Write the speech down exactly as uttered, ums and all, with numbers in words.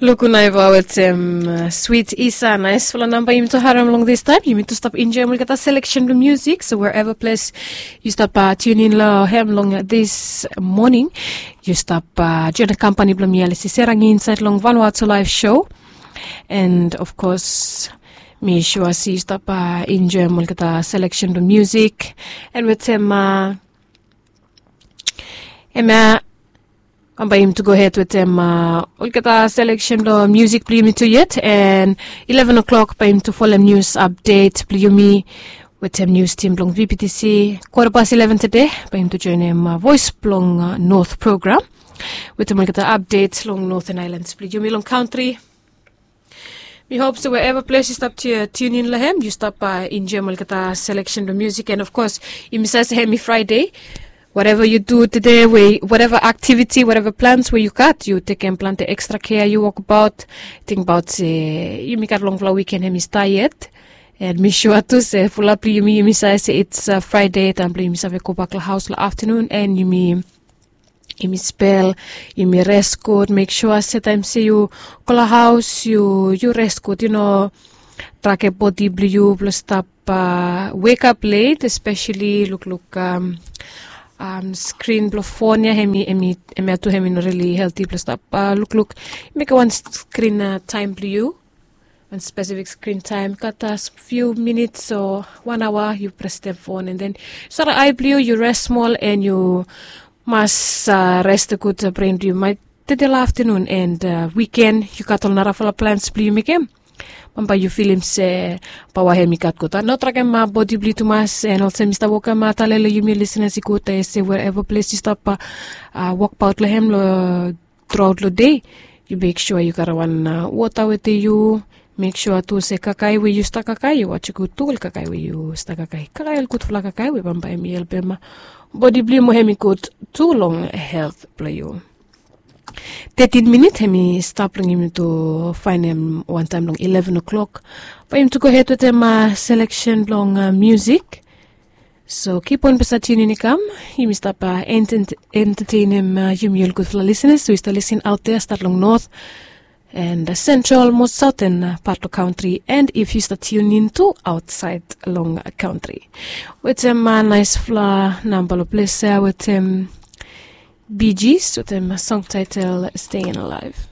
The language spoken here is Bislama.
Luku naiva wetem swit isa naisfala namba yumi tu harem long distaim. Yumi tu stap enjoim olgeta seleksen blong musik, so wherever ples yu stap tiunin long hem long dis moning, yu stap join kampani blong mi, alisi serang insaid long vanua tu laif show. And of kos mi sua si yu stap enjoim olgeta seleksen blong musik. And wetem emia bambae yumi tu gohed wetem olgeta seleksen blong musik blong yumi tu yet. And eleven o'clock bae yumi tu folem nius apdet blong yumi wetem nius tim blong vptc. Kota pas eleven tede bae yumi tu joinim voes blong not program wetem olgeta apdet long noten ailans blong yumi long kantri. Mi hop se wherever ples yu stap tiunin long hem, yu stap enjoim olgeta seleksen blong musik. And of kos yumi save se hem i fraide. Whatever yu du tede, we whatever aktiviti, whatever plans we yu gat, yu tekem plante ekstra kea, yu wokbaot. Tingbaot se yumi gat longfala wiken hem i stap yet. And mi sua tu se fulap blong yumi, yumi save se it's fraide, taim blong yumi save gobak long haos long aftanun and yumi yumi spel, yumi res gud. Mek sua se taim se yu go long haos yu res gud, yu no drage bodi blong yu blong stap wekap let, espeseli lukluk skrin blong fon ya. Hemia tu hemi no rili helti blong stap lukluk. Mekem wan skrin taim blong yu, wan spesifik skrin taim, gat fiu minits o wan aoa yu prestem fon, and then yu sara ai blong yu, yu res smol, and yu mas res gud bren blong yu. Mai tede long aftanun and wiken yu gat ol narafala plans blong yu mekem, bambae yu filim se paoa hem i gat gud. No drakem bodi blong yu tumas. And olsem mi stap wokem tale long yumi lisenas i gud se wherever ples yu stap wokbaot long hem long truaot long dei, yu mek sua yu gat wan wota wetem yu. Mek sua tu se kakae we yu stap kakae, yu wasim gud tu ol kakae we yu stap kakae. Kakae ol gudfala kakae we bambae hem i helpem bodi blong yu mo hem i gud tu long helt blong yu. Tetin minit hem i stap long yumi tu faenem wantaim long eleven o'clock. Bae yumi tu gohed wetem seleksen blong musik. So kip on blong stap tiunin i kam. Yumi stap entetenem yumi ol gudfala lisenas we yu stap lisin aot ya, stat long not and sentral mo saoten pat long kantri, and if yu stap tiunin tu aotsaed long kantri. Wetem naisfala namba long ples ya wetem Bee Gees wetem song taitel Staying Alive.